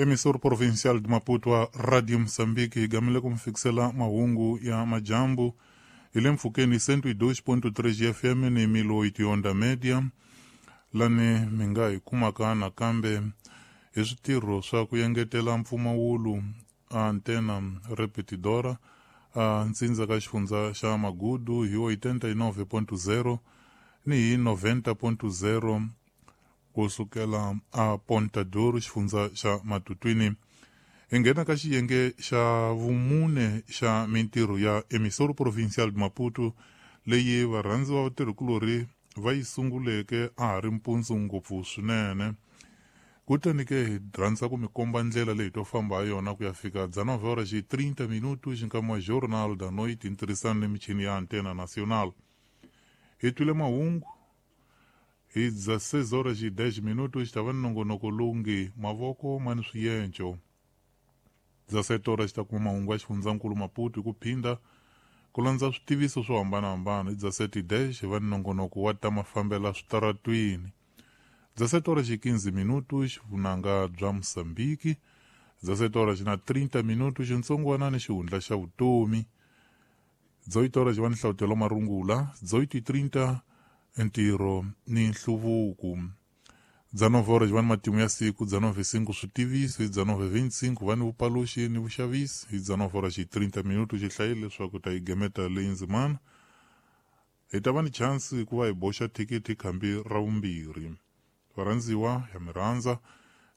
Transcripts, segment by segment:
Emissor Provincial de Maputo wa Radio Moçambique hi gamile ku mi fikisela mahungu ya majambu hi le mpfhukeni 102.3 FM ni 1008 Onda Media lani mi nga hi kumaka nakambe hi switirho swa ku engetela mpfumawulo a antena repetidora a ntsindza ka xifundza xa Magudu hi 89.0 ni hi 90.0 kusukela a Ponta Douro xifundza xa Matutwini. Hi nghena ka xiyenge xa vumune xa mintirho ya Emissor Provincial de Maputo leyi varhandzi va vatirhikulorhi va yi sunguleke a ha ri mpundzu ngopfu swinene. Kutani ke hi rhandza ku mi komba ndlela leyi to famba ha yona ku ya fika 19 horas e 30 minutos nkama wa Jornal da Noite hi ntirhisano ni michini ya Antena Nacional. Hi twile mahungu hi 16 horas e 10 minutos ta va ni nongonoko lowu nge mavoko ma ni swienco. 17 horas ta kuma mahungu ya xifundzankulu Maputo hi ku phinda ku landza switiviso swo hambanahambana. Hi 17:10 hi va ni nongonoko wa ta mafambela switaratwini. 17 horas e 15 minutos vunanga bya Moçambique. 17 horas na 30 minutos xitsongwana ni xihundla xa vutomi. 18 horas va ni hlavutelo marungula. 18:30 ntirho ni nhluvuko. 19 horas va ni matimu ya siku. 19:05 switiviso. Hi 19:25 va ni vupaluxi ni vuxavisi. Hi 19 horas e 30 minutos xi hlayile leswaku ta yi gemeta leyi ndzimana. Hi ta va ni chance ku va hi boxa thikithi khambi ra vumbirhi. Varhandziwa ya mi rhandza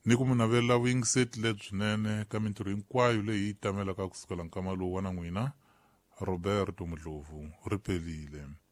ni ku mi navela vuyingiseti lebyinene ka mintirho hinkwayo leyi yi tamelaka kusukela nkama lowu wa na n'wina Roberto Mudlovu ri pelile.